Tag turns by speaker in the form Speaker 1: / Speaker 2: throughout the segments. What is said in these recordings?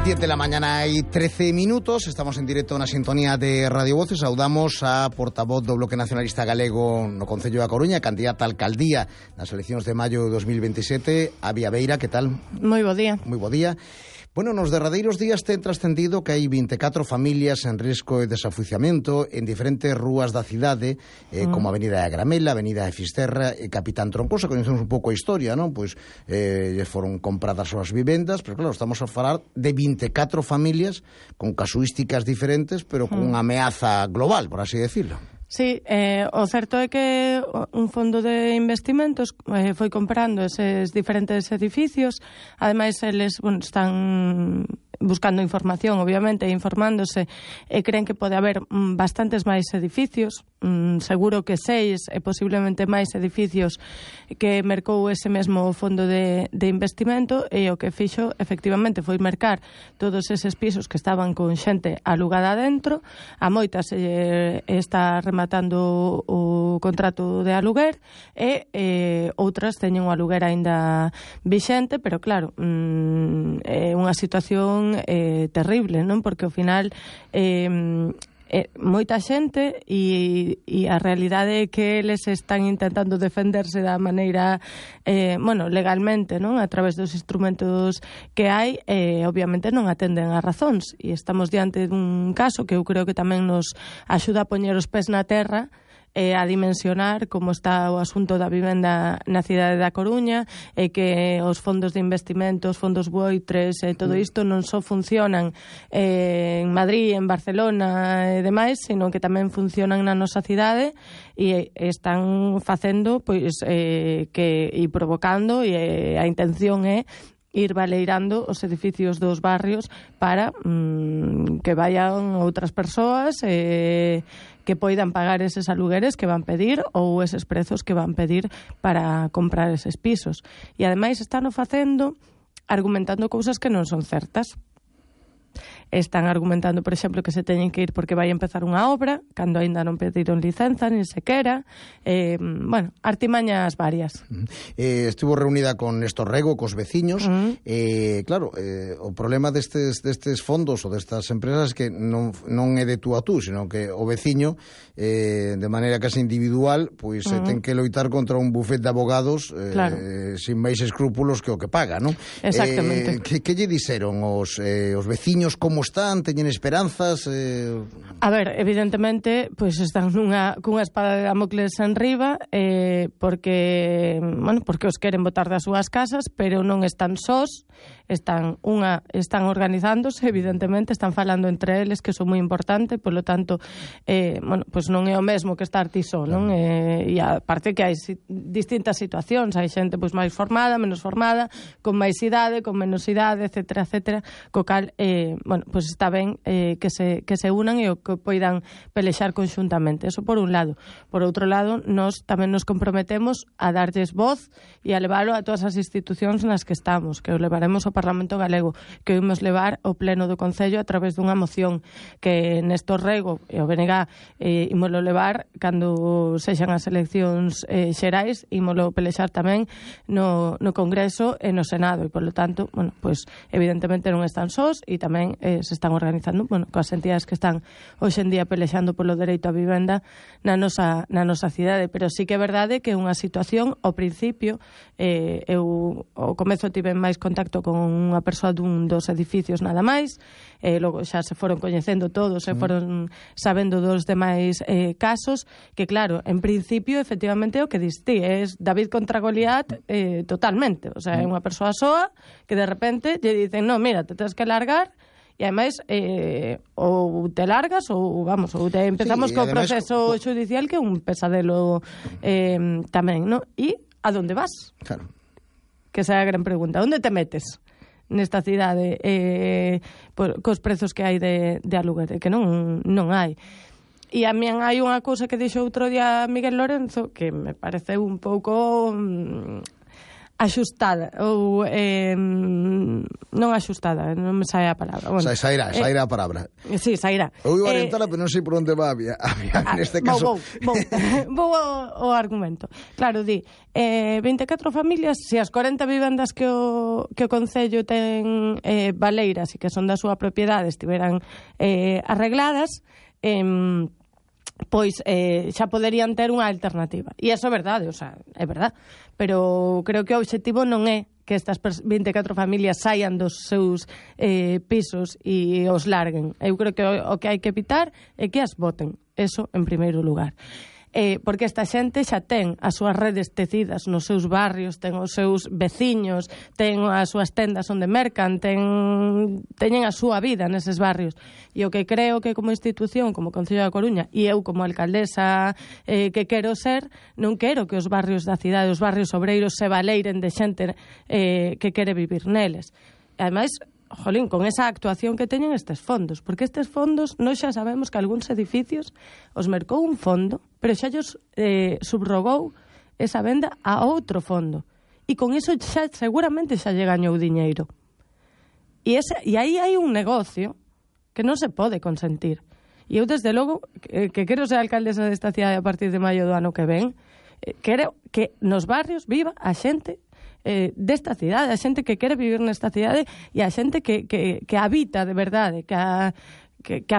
Speaker 1: 10 de la mañana y 13 minutos, estamos en directo na sintonía de Radio Voces. Saudamos a portavoz do Bloque Nacionalista Galego no Concello da Coruña, candidata a alcaldía nas eleccións de maio de 2027, Avia Beira, que tal?
Speaker 2: Moi bo día.
Speaker 1: Moi bo día. Bueno, nos derradeiros días ten trascendido que hai 24 familias en risco de desafuiciamento en diferentes rúas da cidade, como a Avenida de Gramela, Avenida de Fisterra e Capitán Troncoso. Coñecemos un pouco a historia, non? Pois foron compradas as vivendas, pero claro, estamos a falar de 24 familias con casuísticas diferentes, pero con unha ameaza global, por así decirlo.
Speaker 2: Sí, o certo é que un fondo de investimentos foi comprando eses diferentes edificios. Ademais, eles están buscando información, obviamente, informándose, e creen que pode haber bastantes máis edificios, seguro que 6 e posiblemente máis edificios que mercou ese mesmo fondo de investimento, e o que fixo efectivamente foi mercar todos eses pisos que estaban con xente alugada dentro. A moitas está rematando o contrato de aluguer e outras teñen o aluguer aínda vixente, pero claro, é unha situación terrible, non? Porque ao final moita xente e a realidade é que eles están intentando defenderse da maneira legalmente, non? A través dos instrumentos que hai, obviamente non atenden as razóns, e estamos diante dun caso que eu creo que tamén nos axuda a poñer os pés na terra, a dimensionar como está o asunto da vivenda na cidade da Coruña, e que os fondos de investimento, os fondos buitres e todo isto non só funcionan en Madrid, en Barcelona e demais, sino que tamén funcionan na nosa cidade e están facendo pois que e provocando, e a intención é ir baleirando os edificios dos barrios para que vayan outras persoas que poidan pagar eses alugueres que van pedir ou eses prezos que van pedir para comprar eses pisos. E ademais están o facendo argumentando cousas que non son certas. Están argumentando, por exemplo, que se teñen que ir porque vai empezar unha obra, cando aínda non pediron licenza, nin sequera. Artimañas varias.
Speaker 1: Estivo reunida con Néstor Rego, cos veciños. Claro, o problema destes fondos ou destas empresas é que non é de tú a tú, sino que o veciño, de maneira casi individual, pois ten que loitar contra un bufet de abogados sin máis escrúpulos que o que paga, non?
Speaker 2: Exactamente.
Speaker 1: Que lle dixeron os veciños? Como están? Teñen esperanzas?
Speaker 2: A ver, evidentemente, pois están cunha espada de Damocles enriba, porque os queren botar das súas casas, pero non están sós, están organizándose, evidentemente, están falando entre eles, que son moi importante, polo tanto, pois non é o mesmo que estar ti só, non? E aparte que hai distintas situacións, hai xente pois máis formada, menos formada, con máis idade, con menos idade, etcétera, etcétera, co cal, pois está ben que se unan e o que poidan pelexar conxuntamente. Eso por un lado. Por outro lado, nós tamén nos comprometemos a darlles voz e a leválo a todas as institucións nas que estamos, que o levaremos ao Parlamento Galego, que o imos levar ao Pleno do Concello a través dunha moción que Néstor Rego e o BNG ímolo levar cando sexan as eleccións xerais, ímolo pelexar tamén no Congreso e no Senado, e polo tanto, pois evidentemente non están sós, e tamén se están organizando coas entidades que están hoxe en día pelexando polo dereito á vivenda na nosa cidade. Pero sí que é verdade que é unha situación, ao principio, eu ao comezo tive máis contacto con unha persoa dun dos edificios nada máis, logo xa se foron coñecendo todos, se foron sabendo dos demais casos, que claro, en principio, efectivamente, o que distí é David contra Goliat totalmente. O sea, é unha persoa soa que de repente lle dicen, no, mira, te tens que largar. E ademais, ou te largas ou empezamos co proceso judicial, que é un pesadelo tamén, non? E a donde vas?
Speaker 1: Claro.
Speaker 2: Que esa é a gran pregunta. Onde te metes nesta cidade cos prezos que hai de aluguer? Que non hai. E a min hai unha cousa que dixo outro día Miguel Lorenzo que me pareceu un pouco axustada ou non axustada, non me sae a palabra.
Speaker 1: Bueno, sairá a palabra.
Speaker 2: Sí, sairá.
Speaker 1: Eu iba a orientala, pero non sei por onde va neste caso.
Speaker 2: Vou ao argumento. Claro, 24 familias, se as 40 vivendas que o Concello ten baleiras e que son da súa propiedade estiveran arregladas, pois xa poderían ter unha alternativa. E iso é verdade, é verdade. Pero creo que o obxectivo non é que estas 24 familias saian dos seus pisos e os larguen. Eu creo que o que hai que evitar é que as boten. Eso en primeiro lugar. Porque esta xente xa ten as súas redes tecidas nos seus barrios, ten os seus veciños, ten as súas tendas onde mercan, teñen a súa vida neses barrios. E o que creo que como institución, como Concello da Coruña, e eu como alcaldesa que quero ser, non quero que os barrios da cidade, os barrios obreiros se valeiren de xente que quere vivir neles. E ademais, jolín, con esa actuación que teñen estes fondos, porque estes fondos nós xa sabemos que algúns edificios os mercou un fondo, pero xa ellos subrogou esa venda a outro fondo, e con iso xa seguramente xa lle gañou diñeiro, e aí hai un negocio que non se pode consentir. E eu desde logo que quero ser alcaldesa desta cidade a partir de maio do ano que ven, quero que nos barrios viva a xente desta cidade, a xente que quere vivir nesta cidade e a xente que habita de verdade, que a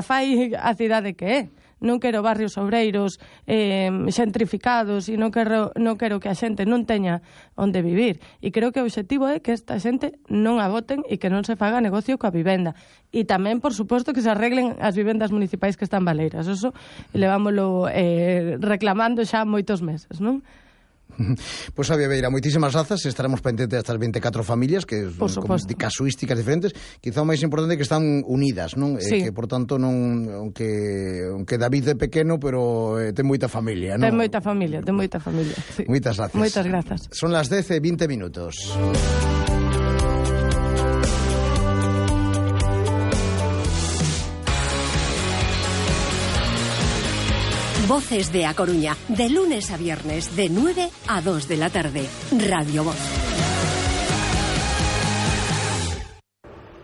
Speaker 2: fai a cidade que é. Non quero barrios obreiros xentrificados e non quero que a xente non teña onde vivir. E creo que o obxectivo é que esta xente non a boten e que non se faga negocio coa vivenda. E tamén, por suposto, que se arreglen as vivendas municipais que están baleiras. Eso levámoslo reclamando xa moitos meses, non?
Speaker 1: Pois, Xavi Beira, moitísimas grazas. Estaremos pendentes destas 24 familias que son de casuísticas diferentes. Quizá o máis importante é que están unidas, non?
Speaker 2: Sí.
Speaker 1: Que, por tanto, non aunque David é pequeno, pero ten moita familia, non?
Speaker 2: Ten moita familia, sí.
Speaker 1: Moitas grazas.
Speaker 2: Moitas grazas.
Speaker 1: Son las 10:20 minutos.
Speaker 3: Voces de A Coruña, de lunes a viernes, de 9 a 2 de la tarde. Radio Voz.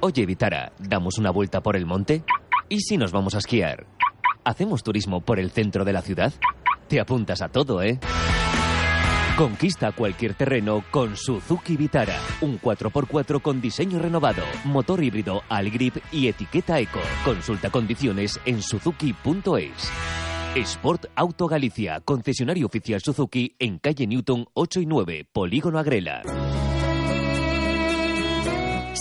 Speaker 4: Oye, Vitara, ¿damos una vuelta por el monte? ¿Y si nos vamos a esquiar? ¿Hacemos turismo por el centro de la ciudad? Te apuntas a todo, ¿eh? Conquista cualquier terreno con Suzuki Vitara. Un 4x4 con diseño renovado, motor híbrido Algrip y etiqueta Eco. Consulta condiciones en suzuki.es. Sport Auto Galicia, concesionario oficial Suzuki en calle Newton 8 y 9, Polígono Agrela.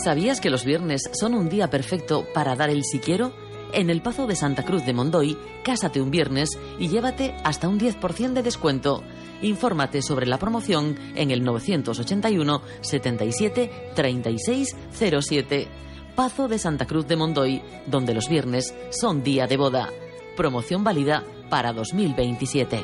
Speaker 5: ¿Sabías que los viernes son un día perfecto para dar el si quiero? En el Pazo de Santa Cruz de Mondoy, cásate un viernes y llévate hasta un 10% de descuento. Infórmate sobre la promoción en el 981 77 36 07. Pazo de Santa Cruz de Mondoy, donde los viernes son día de boda. Promoción válida para 2027.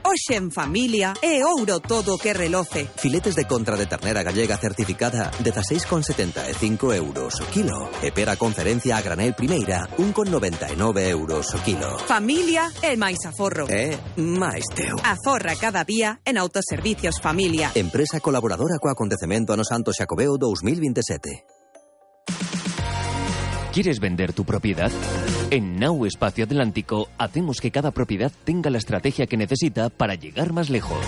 Speaker 6: Hoxe en familia é ouro todo o que reloce.
Speaker 7: Filetes de contra de ternera gallega certificada 16,75 euros o kilo. E pera conferencia a granel primeira 1,99 euros o kilo.
Speaker 6: Familia é máis aforro.
Speaker 7: máis teu.
Speaker 6: Aforra cada día en Autoservicios Familia.
Speaker 7: Empresa colaboradora co acontecemento Ano Santo Xacobeo 2027.
Speaker 4: ¿Quieres vender tu propiedad? En Nau Espacio Atlántico hacemos que cada propiedad tenga la estrategia que necesita para llegar más lejos.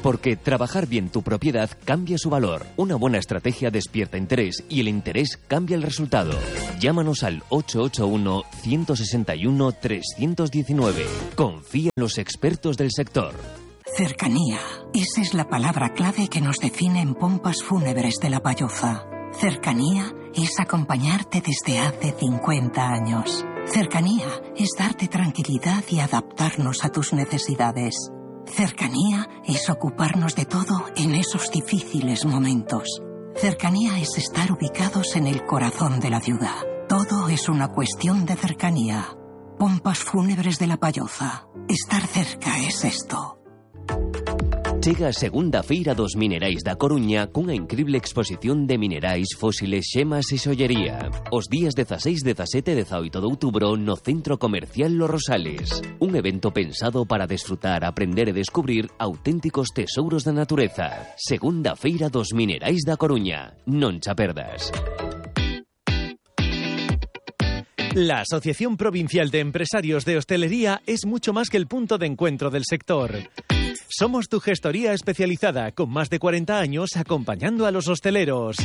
Speaker 4: Porque trabajar bien tu propiedad cambia su valor. Una buena estrategia despierta interés y el interés cambia el resultado. Llámanos al 881-161-319. Confía en los expertos del sector.
Speaker 8: Cercanía. Esa es la palabra clave que nos define en Pompas Fúnebres de La Palloza. Cercanía es acompañarte desde hace 50 años. Cercanía es darte tranquilidad y adaptarnos a tus necesidades. Cercanía es ocuparnos de todo en esos difíciles momentos. Cercanía es estar ubicados en el corazón de la ciudad. Todo es una cuestión de cercanía. Pompas Fúnebres de La Palloza. Estar cerca es esto.
Speaker 4: Chega a segunda feira dos minerais da Coruña cunha increíble exposición de minerais, fósiles, xemas e xollería. Os días 16, 17 e 18 de outubro no Centro Comercial Los Rosales. Un evento pensado para desfrutar, aprender e descubrir auténticos tesouros da natureza. Segunda feira dos minerais da Coruña. Non cha perdas.
Speaker 9: La Asociación Provincial de Empresarios de Hostelería es mucho más que el punto de encuentro del sector. Somos tu gestoría especializada, con más de 40 años acompañando a los hosteleros.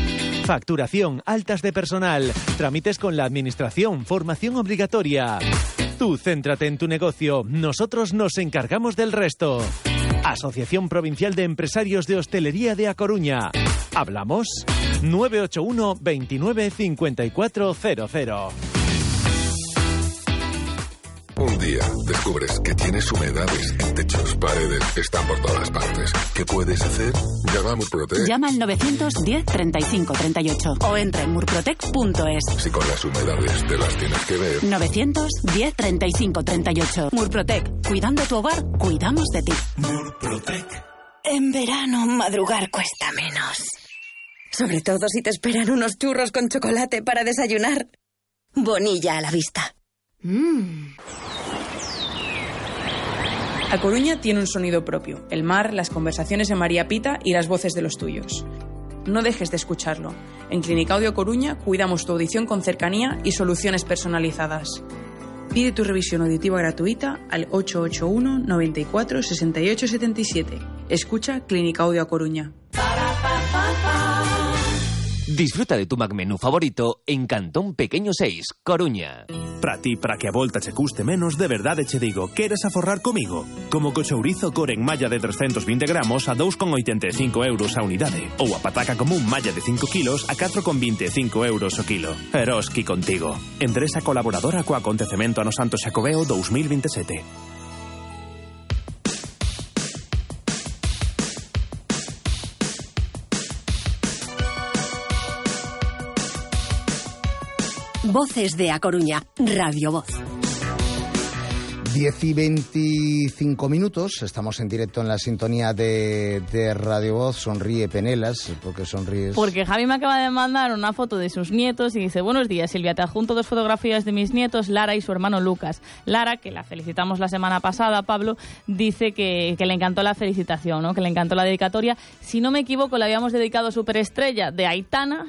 Speaker 9: Facturación, altas de personal, trámites con la administración, formación obligatoria. Tú céntrate en tu negocio, nosotros nos encargamos del resto. Asociación Provincial de Empresarios de Hostelería de A Coruña. ¿Hablamos? 981 29 5400.
Speaker 10: Un día descubres que tienes humedades en techos, paredes, están por todas partes. ¿Qué puedes hacer? Llama a Murprotec.
Speaker 11: Llama al 910 35 38 o entra en murprotec.es.
Speaker 10: Si con las humedades te las tienes que ver.
Speaker 11: 910 35 38. Murprotec. Cuidando tu hogar, cuidamos de ti.
Speaker 12: Murprotec. En verano, madrugar cuesta menos.
Speaker 13: Sobre todo si te esperan unos churros con chocolate para desayunar. Bonilla a la vista.
Speaker 14: A Coruña tiene un sonido propio: el mar, las conversaciones en María Pita y las voces de los tuyos. No dejes de escucharlo. En Clínica Audio Coruña cuidamos tu audición con cercanía y soluciones personalizadas. Pide tu revisión auditiva gratuita al 881 94 68 77. Escucha Clínica Audio a Coruña.
Speaker 4: Disfruta de tu McMenú favorito en Cantón Pequeño 6, Coruña.
Speaker 15: Para ti, para que a volta che custe menos, de verdade che digo, queres aforrar comigo? Como co chourizo core en malla de 320 gramos a 2,85 euros a unidade. Ou a pataca común malla de 5 kilos a 4,25 euros o kilo. Eroski contigo. Empresa colaboradora co acontecemento Ano Santo Xacobeo 2027.
Speaker 3: Voces de A Coruña, Radio Voz.
Speaker 1: 10 y 25 minutos, estamos en directo en la sintonía de Radio Voz. Sonríe Penelas, ¿por qué sonríes?
Speaker 2: Porque Javi me acaba de mandar una foto de sus nietos y dice: buenos días, Silvia, te adjunto 2 fotografías de mis nietos, Lara y su hermano Lucas. Lara, que la felicitamos la semana pasada, Pablo, dice que le encantó la felicitación, ¿no? Que le encantó la dedicatoria. Si no me equivoco, le habíamos dedicado Superestrella de Aitana,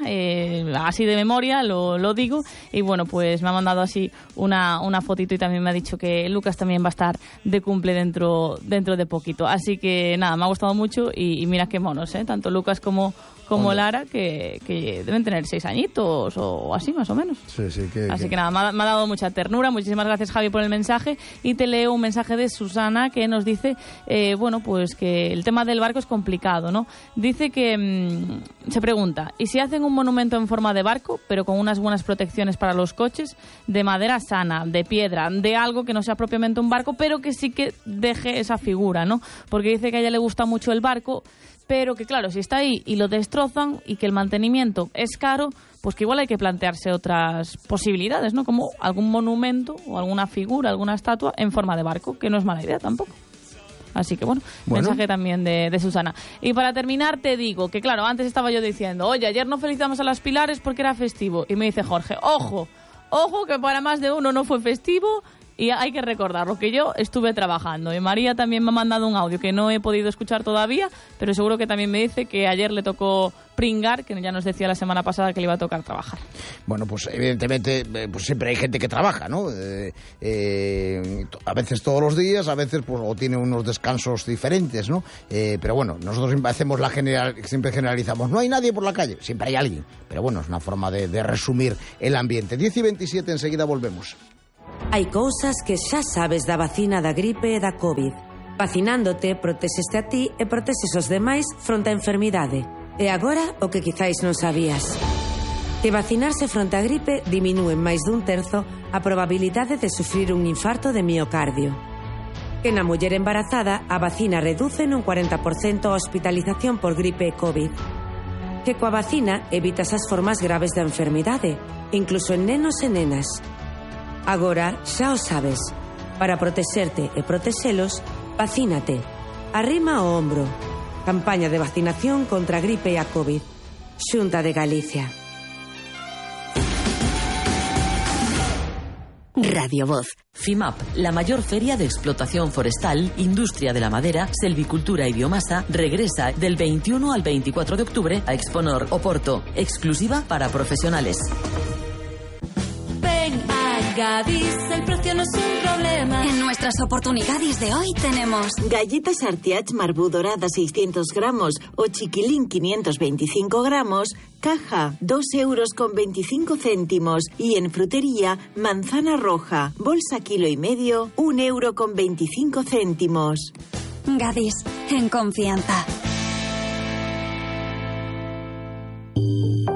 Speaker 2: así de memoria, lo digo. Y bueno, pues me ha mandado así una fotito y también me ha dicho que Lucas también va a estar de cumple dentro de poquito. Así que nada, me ha gustado mucho y mira qué monos, tanto Lucas como Lara, que deben tener 6 añitos o así más o menos.
Speaker 1: Sí,
Speaker 2: así que nada, me ha dado mucha ternura. Muchísimas gracias, Javi, por el mensaje. Y te leo un mensaje de Susana que nos dice, bueno, pues que el tema del barco es complicado, ¿no? Dice que se pregunta, ¿y si hacen un monumento en forma de barco, pero con unas buenas protecciones para los coches, de madera sana, de piedra, de algo que no sea propiamente un barco, pero que sí que deje esa figura, ¿no? Porque dice que a ella le gusta mucho el barco, pero que claro, si está ahí y lo destrozan y que el mantenimiento es caro, pues que igual hay que plantearse otras posibilidades, ¿no? Como algún monumento o alguna figura, alguna estatua en forma de barco, que no es mala idea tampoco. Así que bueno, mensaje también de Susana. Y para terminar te digo que claro, antes estaba yo diciendo, oye, ayer no felicitamos a las Pilares porque era festivo. Y me dice Jorge, ojo, que para más de uno no fue festivo. Y hay que recordarlo, que yo estuve trabajando. Y María también me ha mandado un audio que no he podido escuchar todavía, pero seguro que también me dice que ayer le tocó pringar, que ya nos decía la semana pasada que le iba a tocar trabajar. Bueno, pues evidentemente pues siempre hay gente que trabaja, ¿no? A veces todos los días, a veces pues o tiene unos descansos diferentes, ¿no? Pero bueno, nosotros siempre hacemos siempre generalizamos. No hay nadie por la calle, siempre hay alguien. Pero bueno, es una forma de resumir el ambiente. 10 y 27, enseguida volvemos.
Speaker 16: Hai cousas que xa sabes da vacina da gripe e da COVID. Vacinándote, protexeste a ti e protexes os demais fronte á enfermidade. E agora, o que quizáis non sabías. Que vacinarse fronte á gripe diminúe en máis dun terzo a probabilidade de sufrir un infarto de miocardio. Que na muller embarazada a vacina reduce nun 40% a hospitalización por gripe e COVID. Que coa vacina evitas as formas graves da enfermidade, incluso en nenos e nenas. Agora xa o sabes. Para protexerte e protexelos, vacínate. Arrima o hombro. Campaña de vacinación contra a gripe e a COVID. Xunta de Galicia.
Speaker 3: Radio Voz.
Speaker 5: FIMAP, la mayor feria de explotación forestal, industria de la madera, selvicultura y biomasa, regresa del 21 al 24 de octubre a Exponor, Oporto, exclusiva para profesionales.
Speaker 17: Ven a Gadis, el precio no es un problema.
Speaker 18: En nuestras oportunidades de hoy tenemos
Speaker 19: galletas Artiach Marbú dorada 600 gramos o chiquilín 525 gramos, caja 2,25 €, y en frutería manzana roja, bolsa 1,5 kg, 1,25 €.
Speaker 18: Gadis, en confianza.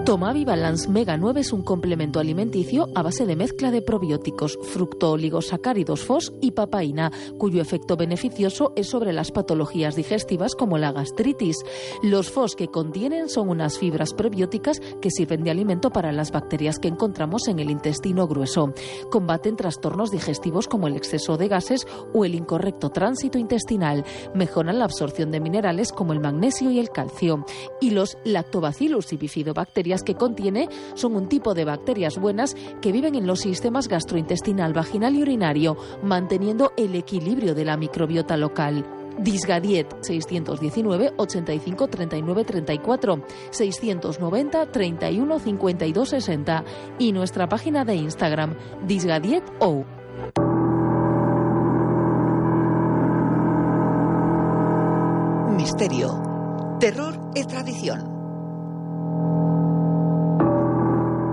Speaker 20: Tomavi Balance Mega 9 es un complemento alimenticio a base de mezcla de probióticos, fructooligosacáridos FOS y papaína, cuyo efecto beneficioso es sobre las patologías digestivas como la gastritis. Los FOS que contienen son unas fibras prebióticas que sirven de alimento para las bacterias que encontramos en el intestino grueso. Combaten trastornos digestivos como el exceso de gases o el incorrecto tránsito intestinal. Mejoran la absorción de minerales como el magnesio y el calcio. Y los Lactobacillus y bifidobacterias que contiene son un tipo de bacterias buenas que viven en los sistemas gastrointestinal, vaginal y urinario, manteniendo el equilibrio de la microbiota local. Disgadiet 619 85 39 34 690 31 52 60 y nuestra página de Instagram disgadietou.
Speaker 21: Misterio, terror e tradición.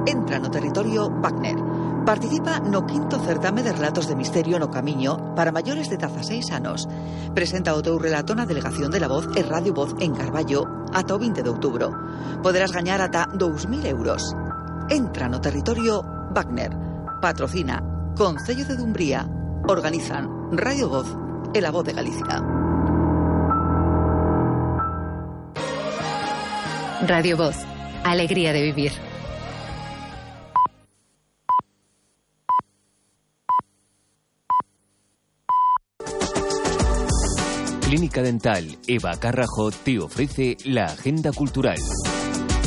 Speaker 21: Entra no territorio Wagner. Participa no 5º certame de relatos de misterio no Camiño para maiores de 16 anos. Presenta o teu relato na Delegación de la Voz e Radio Voz en Carballo ata o 20 de outubro. Poderás gañar ata 2.000 euros. Entra no territorio Wagner. Patrocina Concello de Dumbría. Organizan Radio Voz e La Voz de Galicia.
Speaker 22: Radio Voz. Alegría de vivir.
Speaker 4: Clínica Dental Eva Carrajo te ofrece la agenda cultural.